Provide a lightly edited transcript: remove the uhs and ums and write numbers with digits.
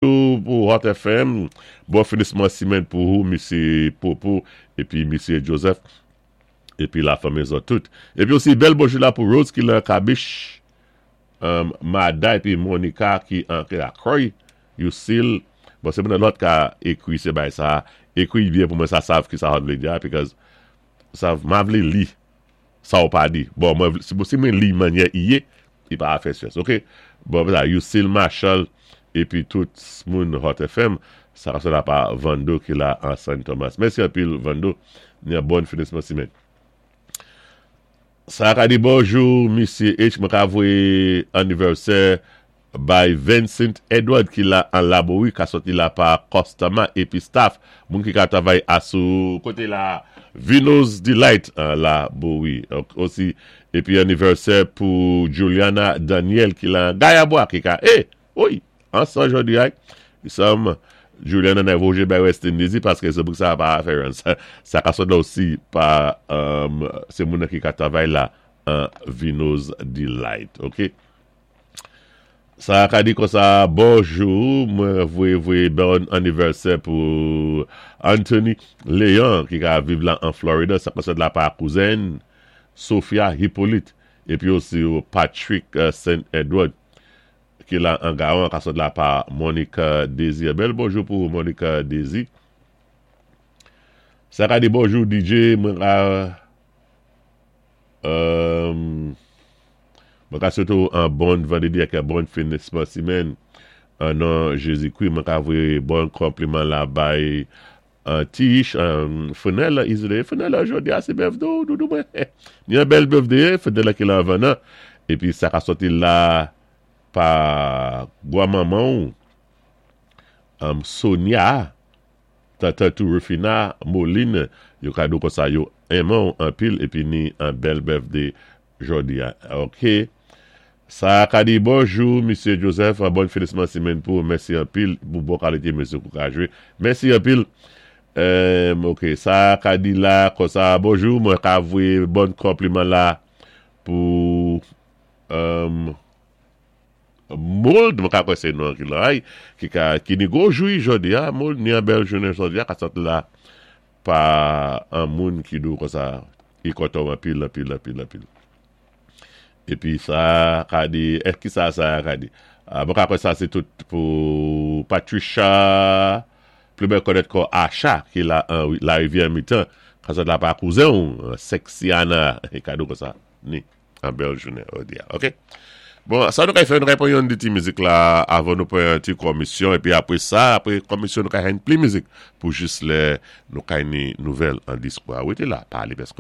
Pou Hot FM, bon finisman simenn pou ou, Misyé Popo, épi Misyé Joseph, épi la fanmi zòt tout. Épi osi bèl bonjou la pou Rose ki lan Kabich, Mada épi Monica ki an Akroy, Yusil, bon sé moun lòt ka ékwi sé bay sa, ékwi byen pou mwen sa sav ki sa vlé di a, because sav ma vlé li sa ou pa di. Bon, mwen, si mwen li manyè i yé, i pa fè syans, ok? Bon, sa, Yusil Marshall, épi tout moun Hot FM, sa ka la pa Vando ki la an Saint Thomas. Mèsi anpil, Vando, ni an bon finisman simenn. Sa ka di bonjou, Misyé H, mwen ka voyé anivèsè bay Vincent Edward ki la an Laborie, ka soti la pa Costama épi staff, moun ki ka travay asou koté la Vino's Delight an Laborie. Osi, épi anivèsè pou Juliana Daniel ki la Gayabwa ki ka, eh, wi, ansan jodi ay, sam Juliana nan voye bay West Indies paské sé pou sa pa fè sa, sa ka sot la osi pa sé moun ki ka travay la an Vino's Delight, ok? Sa ka di konsa, bonjou, mwen voye voye bon anivèsè pou Anthony Léon ki ka viv la an Florida, sa ka sot la pa kouzen Sophia Hippolyte, épi osi Patrick Saint Edward ki la an Gawan, ka sot la pa Monica Désir. Bèl bonjou pou Monica Désir. Sa ka di bonjou DJ, mwen ka swété ou an bon vandrédi ak an bon finisman simenn an non Jézikwi. Mwen ka voyé bon konpliman la bay an Tish, an Fenella Isolé. Fenella jodi a sé birthday ou, doudou mwen. Ni an bèl birthday, Fenella ki la anvan nan. Épi sa ka soti la pa gwa manman ou, Sonia, tante tou Rufina, Moline, yo ka di ou konsa yo enman ou anpil épi ni an bèl birthday jodi a. Ok. Sa ka di bonjou, Misyé Joseph, bon finisman simenn pou ou, mèsi anpil pou bon kalité mizik ou ka jwé. Mèsi anpil. Ok, sa ka di la konsa, bonjou, mwen ka voyé bon konpliman la pou Mold, mwen ka kwè sé non ki la, ki ka, ki ni gwo jou jodi a, Mold, ni an bèl jounen jodi a, ka sot la pa an moun ki di ou konsa, ki kontan anpil, anpil, anpil, anpil. Épi sa ka di, eh, ki sa sa ka di? Mwen ka kwè sa sé tout pou Patricia, pli bèl konèt kò Acha, ki la an la rivyè mitan, ka sot la pa kouzen ou, Sexiana, e kado konsa, ni an bèl jounen jodi a, ok? Bon, sa nou ka fè, nou ka pran yon ti mizik la avan nou pran yon ti komisyon, épi apwé sa, apwé komisyon nou ka jwenn pli mizik pou jis lè nou ka ni nouvèl an diskou a. Wété la, pa alé pèskoté.